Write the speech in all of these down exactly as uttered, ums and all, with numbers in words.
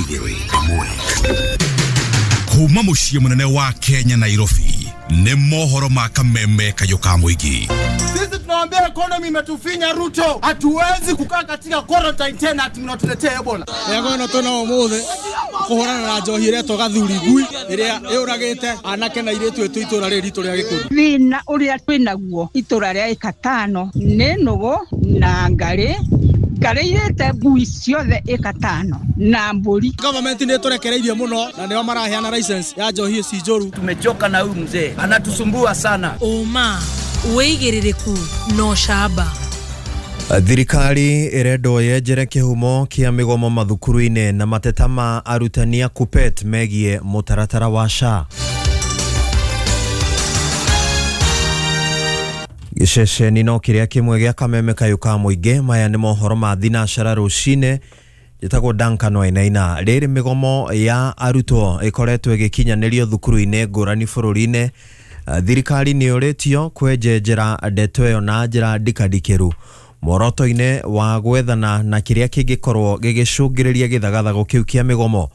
Igĩrĩ ĩmwe. Kuma mũciĩ mũnene wa Kenya Nairobi nĩ mohoro ma kameme kayũ ka mũingĩ. Sisi tunawaambia economy imetufinya Ruto, hatuwezi kukaa katika quarantine tena ati mnatuletea Ebola. Yego no tuna umuthi kuhurana na njohi iretwo gathuri ngui iria yuragite anake na iritu itu itura riri ritu ria gikundi. Thina uria twinaguo itura ria ikatano ni nugu na ngari ngari ngui ciothe ikatano na mburi. Government ni turekereirie muno na nio maraheana license ya njohi ici njuru. Tumechoka na huyu mzee, anatusumbua sana. Uma wigiririku no shaba. Thirikari ĩrendwo yenjere kĩhumo kĩa mĩgomo mathukuru-inĩ na mateta ma arutani a KUPPET megiĩ mũtaratara wa S H A. Gĩceceni no kĩrĩa kĩmwe gĩa kameme kayũ ka mũingĩ. Maya nĩ mohoro ma thinacara rũcinĩ. Njĩtagwo Duncan Wainaina. Rĩrĩ mĩgomo ya arutwo ĩkoretwo ĩgĩkinyanĩrio thukuru-inĩ ngũrani bũrũri-inĩ. Thirikari nĩ ũrĩtio kwenjenjera ndeto ĩyo na njĩra ndikandikĩru muoroto-inĩ wa gwethana na kĩrĩa kĩngĩkorwo gĩgĩcũngĩrĩria gĩthagathago kĩu kĩa mĩgomo.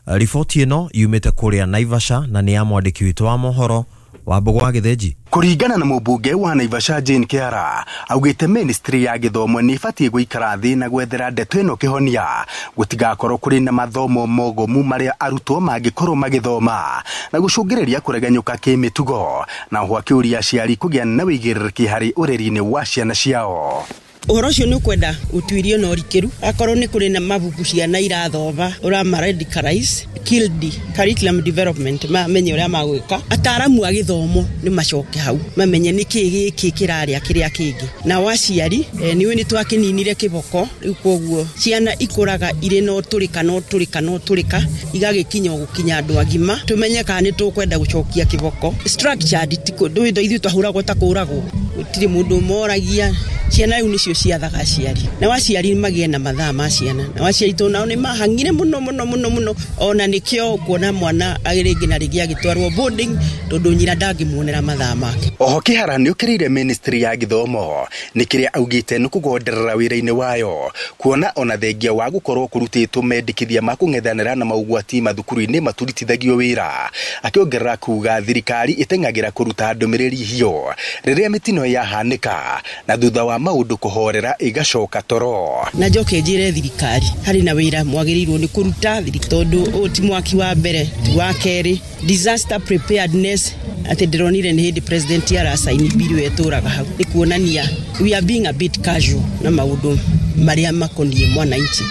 Riboti ĩno yumĩte kũrĩa Naivasha na nĩ ya mwandĩki witũ wa mohoro wa Mbũgũ wa Gĩthĩnji. Kũringana na mũmbunge wa Naivasha Jane Kĩara, augĩte ministry ya gĩthomo nĩ ĩbatiĩ gũikara thĩ na gwethera ndeto ĩno kĩhonia, gũtigakorwo kũrĩ na mathomo mogomu marĩa arutwo mangĩkorwo magĩthoma na gũcũngĩrĩria kũregenyũka kĩmĩtugo, na oho akĩũria aciari kũgĩa na wĩigĩrĩrĩki harĩ ũreri-inĩ wa ciana ciao. Ũhoro ũcio nĩ ũkwenda ũtuĩrio na ũrikĩru, akorwo nĩ kũrĩ na mabuku ciana irathoma ũrama radicalize killed curriculum development, mamenye ũrĩa magwĩka. Ataaramu a gĩthomo nĩ macoke hau mamenye nĩ kĩĩ gĩkĩ kĩrarĩa kĩrĩa kĩngĩ. Nao aciari nĩũĩ nĩ twakĩninire kĩboko, rĩu koguo ciana ikũraga irĩ na ũtũrĩka na ũtũrĩka na ũtũrĩka igagĩkinya gũkinya andũ agima. Tũmenye kana nĩ tũkwenda gũcokia kĩboko structured, ithuĩ twahũragwo ta kũragwo, gũtirĩ mũndũ ũmoragia. Ciana rĩu nĩcio ciathaga aciari, nao aciari magĩe na mathaa ma ciana, nao aciari tondũ nao nĩ mahang'ire mũno mũno mũno mũno, ona nĩkĩo kuona mwana rĩngĩ na rĩngĩ agĩtwarwo boarding tondũ nyina ndangĩmuonera mathaa make. Oho Kĩhara nĩ ũkĩrĩire ministry ya gĩthomo nĩ kĩrĩa augĩte nĩ kũgonderera wĩra-inĩ wayo, kuona ona thengia wa gũkorwo kũrutĩtwo mendekithia ma kũng'ethanĩra na maũgwati mathukuru-inĩ maturutithagio wĩra, akĩongerera kuga thirikari ĩteng'agĩra kũruta ndũmĩrĩri hiyo rĩrĩa mĩtino yahanĩka na thutha wa maũndũ kũhorera ĩgacoka toro. Na njoke njĩre thirikari harĩ na wĩra mwagĩrĩirwo nĩ kũruta, tondũ ũyũ ti mwaki wa mbere ti wa kerĩ. Disaster preparedness atĩ ndĩronire nĩ hĩndĩ president arasaini bill ĩyo ĩtũraga hau, nĩ kuonania we are being a bit casual na maũndũ marĩa makoniĩ mwananchi.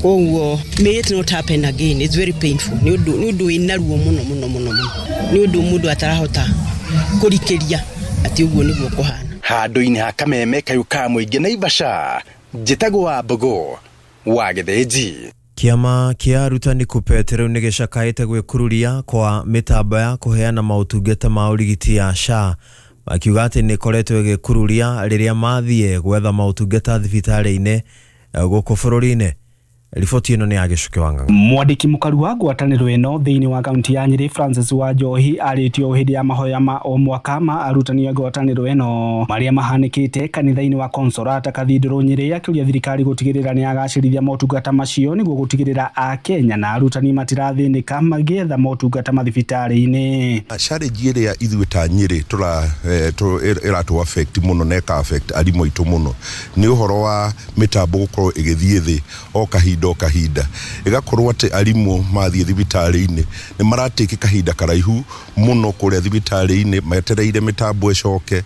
Koguo may it not happen again, it's very painful. Nĩ ũndũ nĩ ũndũ wĩna ruo mũno mũno mũno mũno, nĩ ũndũ mũndũ atarahota kũrikĩria atĩ ũguo nĩguo kũhana. Handũ-inĩ ha kameme kayũ ka mũingĩ Naivasha, njĩtagwo wa Mbũgũ wa Gĩthĩnji. Kĩama kĩa arutani KUPPET rĩu nĩ gĩcakaĩte gwĩkururia kwa mĩtambo ya kũheana maũtungata ma ũrigiti ya S H A, makiuga atĩ nĩ ĩkoretwo ĩgĩkururia rĩrĩa mathiĩ gwetha maũtungata thibitarĩ-inĩ gũkũ bũrũri-inĩ. Riboti ĩno nĩ ya Gĩcuki wa Ng'ang'a. Mwandĩki mũkaru wa ngwatanĩro ĩno thĩinĩ wa kaunti ya Nyĩrĩ Francis Wanjohi arĩtio hĩndĩ ya mahoya ma o mwaka ma arutani a ngwatanĩro ĩno marĩa mahanĩkĩte kanitha-inĩ wa Consolata Cathedral Nyĩrĩ, akĩũria thirikari gũtigĩrĩra nĩ yagacĩrithia motungata macio nĩguo gũtigĩrĩra Akenya na arutani matirathĩnĩka magĩetha motungata mathibitarĩ-inĩ. Challenge ĩrĩa ithuĩ ta Nyĩrĩ tũra ĩratũ affect mũno na ĩka affect arimũ aitũ mũno nĩ ũhoro wa mĩtambo gũkorwo ĩgĩthiĩ thĩ o kahinda o kahinda, ĩgakorwo atĩ arimũ mathiĩ thibitarĩ-inĩ nĩ maratĩki kahinda karaihu mũno kũrĩa thibitarĩ-inĩ metereire mĩtambo ĩcoke,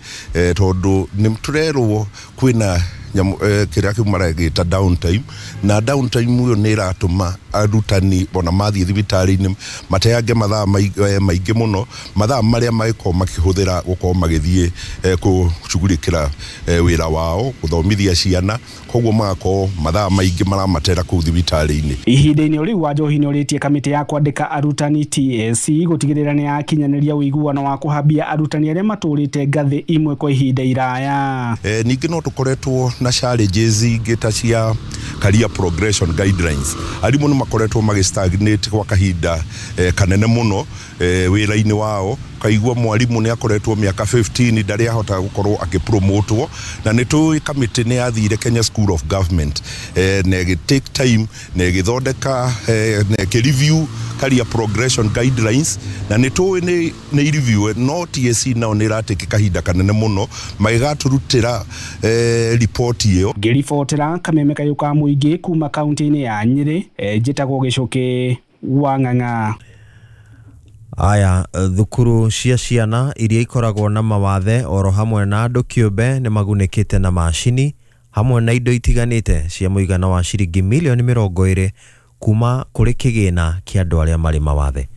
tondũ nĩ tũrerwo kwĩna kĩrĩa kĩu maragĩta downtime, na downtime ĩyo nĩ ĩratũma arutani ona mathiĩ thibitarĩ-inĩ mateange mathaa maingĩ mũno, mathaa marĩa mangĩkorwo makĩhũthĩra gũkorwo magĩthiĩ kũcugurĩkĩra wĩra wao gũthomithia ciana, koguo magakorwo mathaa maingĩ maramatera kũu thibitarĩ-inĩ. Ihinda-inĩ rĩu Wanjohi nĩ ũrĩtie kamĩtĩ ya kwandĩka arutani T S C gũtigĩrĩra nĩ yakinyanĩria ũiguano wa kũhambia arutani arĩa matũrĩte ngathĩ imwe kwa ihinda iraya. Ningĩ no tũkoretwo na challenges ingĩ ta cia career progression guidelines. Arimũ nĩ makoretwo magĩ stagnate kwa kahinda eh, kanene mũno eh, wĩra-inĩ wao, Ukaigua mwarimu nĩ akoretwo mĩaka fifteen ndarĩ ahota gũkorwo akĩpromotwo, na nĩ tũĩ kamĩtĩ nĩ yathire Kenya School of Government eh, na ĩgĩ take time na ĩgĩthondeka eh, na ĩkĩ-review career progression guidelines, na nĩ tũĩ nĩ nĩ review no T S C nao nĩ ĩratĩke kahinda kanene mũno magĩgatũrutĩra eh, ripoti ĩyo. Ngĩribotera kameme kayũ ka mũingĩ kuma kaunti-inĩ ya Nyĩrĩ, eh, njĩtagwo Gĩcũkĩ wa Ng'ang'a. Aya, thukuru cia ciana iria ikoragwo na mawathe oro hamwe na andũ kĩũmbe nĩ magunĩkĩte na macini hamwe na indo itiganĩte cia mũigana wa ciringi milioni mĩrongo ĩrĩ kuma kũrĩ kĩgĩna kĩa andũ arĩa marĩ mawathe.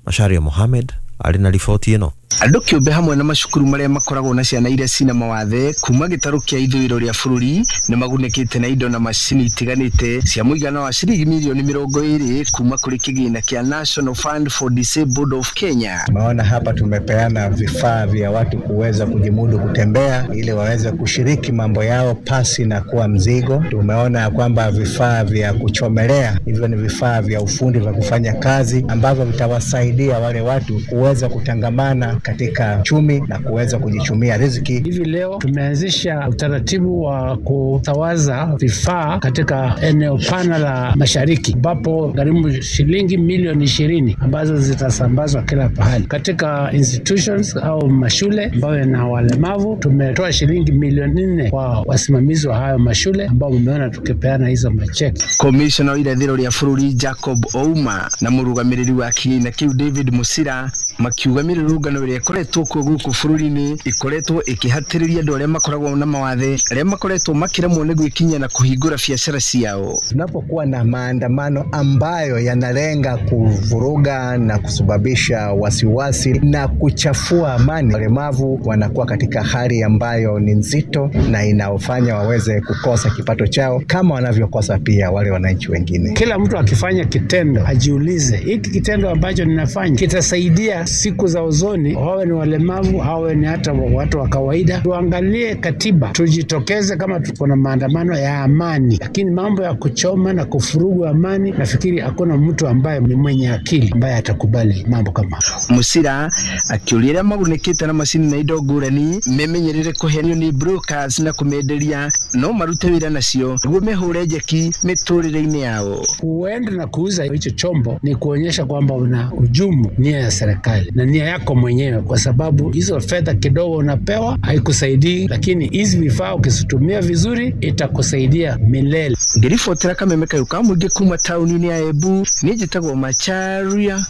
Macharia Mohamed arĩ na riboti ĩno. Andũ kĩũmbe hamwe na macukuru marĩa makoragwo na ciana iria cina mawathe kuma gĩtarũ kĩa ithũĩro rĩa bũrũri nĩ magunĩkĩte na indo na macini itiganĩte cia mũigana wa ciringi milioni mĩrongo ĩrĩ kuma kũrĩ kĩgĩna kĩa National Fund for Disabled of Kenya. Maona hapa tumepeana vifaa vya watu kuweza kujimudu kutembea ili waweze kushiriki mambo yao pasi na kuwa mzigo. Tumeona kwamba vifaa vya kuchomelea, hivyo ni vifaa vya ufundi vya kufanya kazi ambavyo vitawasaidia wale watu kuweza kutangamana katika chumi na kuweza kujichumia riziki. Hivi leo tumeanzisha utaratibu wa kutawaza vifaa katika eneo pana la mashariki, ambapo gharimu shilingi milioni ishirini ambazo zitasambazwa kila pahali katika institutions au mashule ambayo yana walemavu. Tumetoa shilingi milioni nne kwa wasimamizi wa hayo mashule ambao mmeona tukipeana hizo macheki. Commissioner wa irathĩro rĩa bũrũri Jacob Ouma na mũrũgamĩrĩri wa kĩgĩna kĩu David Musira makiuga mĩrũrũngano ĩrĩa ĩkoretwo kuo gũkũ bũrũri-inĩ ĩkoretwo ĩkĩhatĩrĩria andũ arĩa makoragwo na mawathe arĩa makoretwo makĩremwo nĩ gwĩkinyia na kũhingũra biacara ciao. Tunapokuwa na maandamano ambayo yanalenga kuvuruga na kusababisha wasiwasi na kuchafua amani, walemavu wanakuwa katika hali ambayo ni nzito na inaofanya waweze kukosa kipato chao kama wanavyokosa pia wale wananchi wengine. Kila mtu akifanya kitendo ajiulize, hiki kitendo ambacho ninafanya kitasaidia siku za uzoni, wawe ni walemavu, wawe ni hata watu wa kawaida. Tuangalie katiba, tujitokeze kama tuko na maandamano ya amani, lakini mambo ya kuchoma na kufurugu amani, nafikiri hakuna mtu ambaye ni mwenye akili ambaye atakubali mambo kama Musira akiuria arĩa magunĩkĩte na macini na indo ngũrani memenyerere kũhenio nĩ brokers na kũmenderia no marute wĩra nacio nĩguo mehũre njeki mĩtũrĩre-inĩ yao. Kuenda na kuuza hicho chombo ni kuonyesha kwamba una hujumu nia ya serikali na nia yako mwenyewe, kwa sababu hizo fedha kidogo unapewa haikusaidii, lakini hizi vifaa ukizitumia vizuri itakusaidia milele. Ngĩribotera kameme kayũ ka mũingĩ kuma taũni-inĩ ya Embu, niĩ njĩtagwo Macharia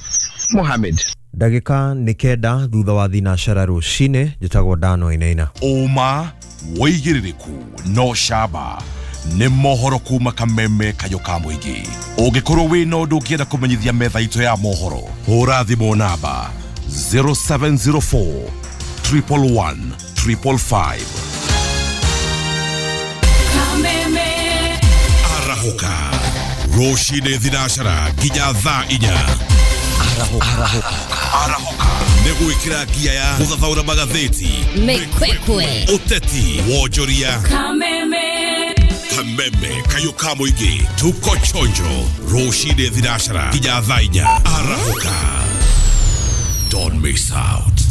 Mohamed. Ndagĩka nĩ kenda thutha wa thinacara rũcinĩ, njĩtagwo Dano Inaina. Ũma wĩigĩrĩrĩku no camba nĩ mohoro kuma kameme kayũ ka mũingĩ. Ũngĩkorwo wĩna ũndũ ũngĩenda kũmenyithia metha itũ ya mohoro, hũra thimũ namba zero seven zero four triple one triple five. Kameme Arahũka rũcinĩ thinacara nginya thaa inya. Arahũka Arahũka nĩ gwĩkĩra ngia ya gũthathaũra magathĩti, mĩkwekwe, ũteti, wonjoria. Kameme Kameme kayũ ka mũingĩ, tuko chonjo rũcinĩ thinacara nginya thaa inya. Arahũka, don't miss out.